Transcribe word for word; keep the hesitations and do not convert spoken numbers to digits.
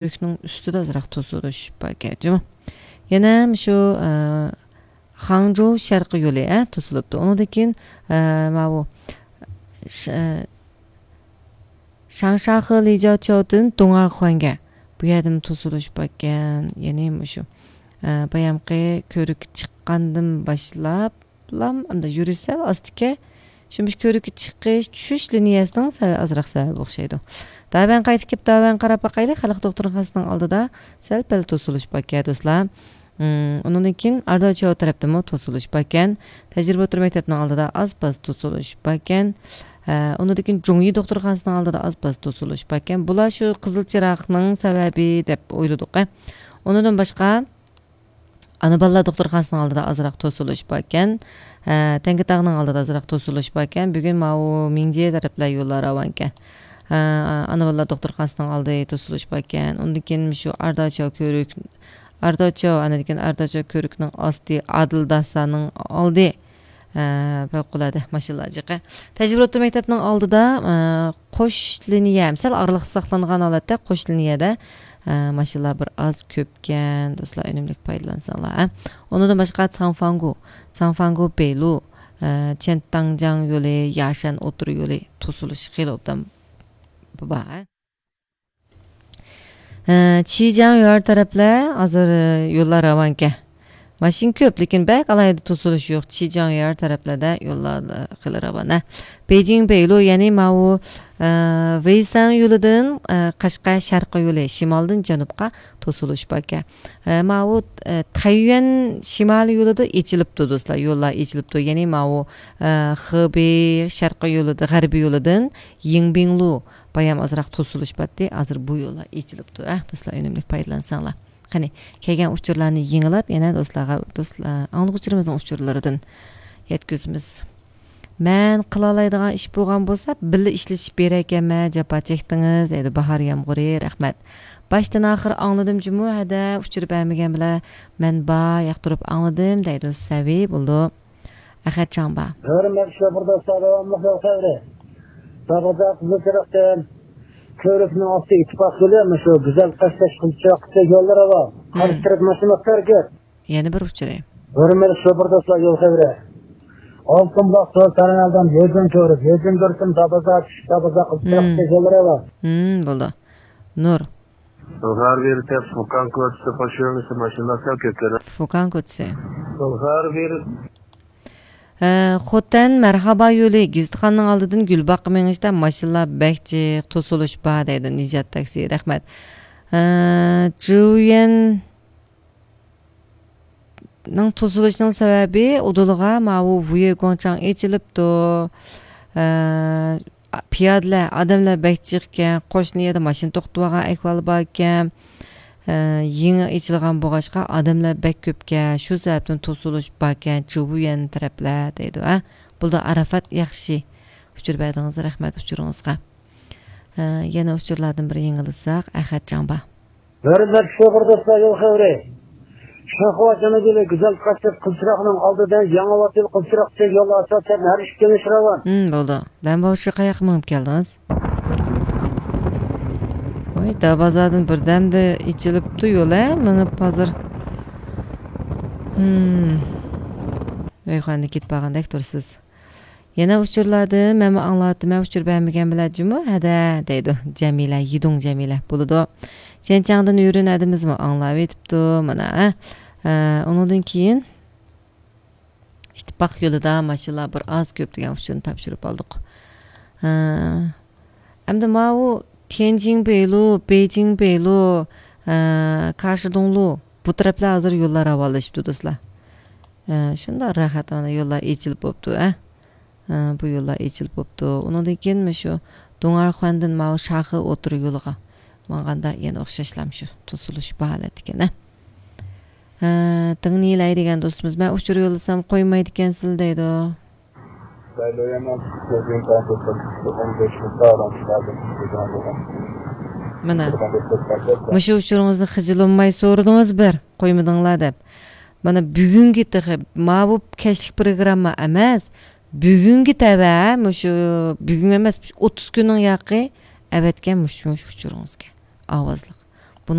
كۆۋرۈكنىڭ ئۈستىدە ئازراق توسۇلۇش باركەن جۇمۇ. يەنە شۇ، ئە، خاڭجۇ شەرقىي يولى، ئە، توسۇلۇپتۇ. ئۇنىڭدىن كېيىن، ئە، ماۋۇ ش-، ئە، شاڭشاخې لىجياۋچياۋدىن دۇڭئەرخۇەنگە بۇ يەردىمۇ توسۇلۇش باركەن. يەنى مۇشۇ، ئە، بايامقى كۆۋرۈككە چىققاندىن باشلاپ، لام، ئەمدى يۈرۈش سەل ئاستىكەن. شۇ مۇشۇ كۆۋرۈككە چىقىش، چۈشۈش لىنىيەسىنىڭ سەۋە-، ئازراق سەۋەبى ئوخشايدۇ. داۋەن قايتىپ كېلىپ، داۋەن قاراپ باقايلى. خەلق دوختۇرخانىسىنىڭ ئالدىدا سەل پەل توسۇلۇش باركەن، دوستلار. ئۇنىڭدىن كېيىن ئارداچياۋ تەرەپتىمۇ توسۇلۇش باركەن. تەجرىبە ئوتتۇرا مەكتەپنىڭ ئالدىدا ئاز پاز توسۇلۇش باركەن. ئۇنىڭدىن كېيىن جۇڭيى دوختۇرخانىسىنىڭ ئالدىدا ئاز پاز توسۇلۇش باركەن. بۇلار شۇ قىزىل چىراغنىڭ سەۋەبى دەپ ئويلىدۇق. ئۇنىڭدىن باشقا، ئانا بالىلار دوختۇرخانىسىنىڭ ئالدىدا ئازراق توسۇلۇش باركەن. ھە، تەڭكىتاغنىڭ ئالدىدا ئازراق توسۇلۇش باركەن. بۈگۈن ماۋۇ مىڭجې تەرەپلەر يوللار راۋانكەن. ھە، ئانا بالىلار دوختۇرخانىسىنىڭ ئالدى توسۇلۇش باركەن. ئۇندىن كېيىن شۇ ئارداچياۋ كۆۋرۈك، ئارداچياۋ، ئاندىن كېيىن ئارداچياۋ كۆۋرۈكنىڭ ئاستى، ئادىل داسانىڭ ئالدى. ھە، پەۋقۇلئاددە ماشىنىلار جىقى. تەجرىبە ئوتتۇرا مەكتەپنىڭ ئالدىدا، ھە، قوش لىنىيە، سەل ئارىلىق ساقلانغان ھالەتتە قوش لىنىيەدە، ھە، ماشىنىلار بىر ئاز كۆپكەن. دوستلار، ئۈنۈملۈك پايدىلانساڭلار، ھە. ئۇنىڭدىن باشقا، ساڭفاڭگۇ، ساڭفاڭگۇ بېيلۇ، ھە، چيەنتاڭجياڭ يولى، ياشەن ئوتتۇرا يولى توسۇلۇش خېلى ئوبدان بار، ھە. ھە، چىجياڭ يۈەر تەرەپلەر ھازىر، ھە، يوللار راۋانكەن. ماشىنا كۆپ، لېكىن بەك ئالاھىدە توسۇلۇش يوق. چىجياڭ يۈەر تەرەپلەردە يوللار، ھە، خېلى راۋان، ھە. بېيجىڭ بېيلۇ، يەنى ماۋۇ، ھە، ۋېيسەن يولىدىن، ھە، قەشقەر شەرقىي يولى، شىمالدىن جەنۇبقا توسۇلۇش باركەن. ھە، ماۋۇ، ھە، تەييۈەن شىمالىي يولىدا ئېچىلىپتۇ، دوستلار. يوللار ئېچىلىپتۇ. يەنى ماۋۇ، ھە، خېبېي شەرقىي يولىدا، غەربىي يولىدىن يىڭبىڭلۇ بايام ئازراق توسۇلۇش باتتى. ھازىر بۇ يوللار ئېچىلىپتۇ، ھە، دوستلار، ئۈنۈملۈك پايدىلانساڭلار. قېنى، كەلگەن ئۇچۇرلارنى يېڭىلاپ، يەنە دوستلارغا، دوستلار، ئاڭلىغۇچىلىرىمىزنىڭ ئۇچۇرلىرىدىن يەتكۈزىمىز. مەن قىلالايدىغان ئىش بولغان بولسا، بىللە ئىشلىشىپ بېرەركەنمەن، جاپا چەكتىڭىز، دەيدۇ باھار يامغۇرى، رەھمەت. باشتىن ئاخىر ئاڭلىدىم جۇمۇ، ھەدە، ئۇچۇر بەرمىگەن بىلەن مەن بار، ياقتۇرۇپ ئاڭلىدىم، دەيدۇ سەۋى، بولدى. ئەخەت چاڭبا. ھۆرمەتلىك شوپۇر دوستلار، داۋاملىق يول خەۋىرى. دابازا قىزىل چىراغدىن كۆۋرۈكنىڭ ئاستى ئىتتىپاق يولى، مۇشۇ گۈزەل قەشقەر قىزىل چىراغقىچە يوللار راۋان. قارشى تەرەپ ماشىنا ھەرىكەت. يەنە بىر ئۇچۇرى. ھۆرمەتلىك شوپۇر دوستلار، يول خەۋىرى. ئالتۇن بۇلاق سول تەرمىنالدىن يېزىن كۆۋرۈك، يېزىن كۆۋرۈكتىن دابازا چۈشۈپ، دابازا قىزىل چىراغقىچە يوللار راۋان. ھىم، بولدى. نۇر. بۇلغار بېرىپ فۇكان كوچىسى قوشۇلمىسى ماشىنىلار سەل كۆپكەن. فۇكان كوچىسى. بۇلغار بېرىپ. ھە، خوتەن مەرھابا يولى، گېزىتخانىنىڭ ئالدىدىن گۈلباغقا مېڭىشتا ماشىنىلار بەك جىق، توسۇلۇش بار دەيدۇ نىجات تاكسى. رەھمەت. ھە، جۇيۈەن نىڭ توسۇلۇشىنىڭ سەۋەبى ئۇدۇلغا ماۋۇ ۋۇيې گۇاڭچاڭ ئېچىلىپتۇ. ئە، پىيادىلەر، ئادەملەر بەك جىقكەن، قوشنا يەردە ماشىنا توختىتىۋالغان ئەھۋال باركەن. ئە، يېڭى ئېچىلغان بولغاچقا ئادەملەر بەك كۆپكەن، شۇ سەۋەبتىن توسۇلۇش باركەن، جۇۋيۈەن تەرەپلەر دەيدۇ، ھە. بولدى، ئاراپات، ياخشى ئۇچۇر بەردىڭىز، رەھمەت ئۇچۇرىڭىزغا. ئە، يەنە ئۇچۇرلاردىن بىر يېڭىلىساق، ئەخەت جاڭبا. ھۆرمەتلىك شوپۇر دوستلار، يول خەۋىرى. شىنخۇا جەنۇبىي گۈزەل قەشقەر قىزچىراغنىڭ ئالدىدا يېڭى ۋاتىل قىزچىراغچە يول ئاساسەن ھەر ئىككى يېنىش راۋان. ھىم، بولدى. لەنباۋشى قاياققا مېڭىپ كەلدىڭىز؟ ۋاي، دابازادىن بىردەمدە ئېچىلىپتۇ يول، ھە، مېڭىپ ھازىر. ھىم. ۋاي، خانىدىن كېتىپ بارغاندەك تۇرىسىز. يەنە ئۇچۇرلاردىن مەنمۇ ئاڭلاۋاتىمەن، ئۇچۇر بەرمىگەن بىلەن جۇمۇ ھەدە دەيدۇ جەمىلە، يىدۇڭ جەمىلە. بولىدۇ. چيەنچاڭدىن يۈرۈن ھەدىمىزمۇ ئاڭلاۋېتىپتۇ، مانا، ھە. ئە، ئۇنىڭدىن كېيىن ئىتتىپاق يولىدا ماشىنىلار بىر ئاز كۆپ دېگەن ئۇچۇرنى تاپشۇرۇپ ئالدۇق. ھە. ئەمدى ماۋۇ تيەنجىڭ بېيلۇ، بېيجىڭ بېيلۇ، ئە، كاشىدۇڭلۇ، بۇ تەرەپلەر ھازىر يوللار راۋانلىشىپتۇ، دوستلار. ئە، شۇنداق راھەت، مانا يوللار ئېچىلىپ بوپتۇ، ئە. ئە، بۇ يوللار ئېچىلىپ بوپتۇ. ئۇنىڭدىن كېيىن مۇشۇ دۇڭئەرخۇەندىن ماۋۇ شاخې ئوتتۇرا يولىغا ماڭغاندا يەنە ئوخشاشلا مۇشۇ توسۇلۇش بار ھالەتتىكەن، ئە. ئە، دېڭنىلەي دېگەن دوستىمىز، مەن ئۇچۇر يوللىسام قويمايدىكەنسىلە دەيدۇ. مانا، مۇشۇ ئۇچۇرىڭىزنى خىجىللانماي سورىدىڭىز بىر، قويمىدىڭلار دەپ. مانا، بۈگۈنگە تېخى، ماۋۇ كەچلىك پروگرامما ئەمەس، بۈگۈنگە تەۋە، مۇشۇ بۈگۈن ئەمەس، مۇشۇ ئوتتۇز كۈننىڭ ياقى ئەۋەتكەن مۇشۇ، مۇشۇ ئۇچۇرىڭىزگە ئاۋازلىق.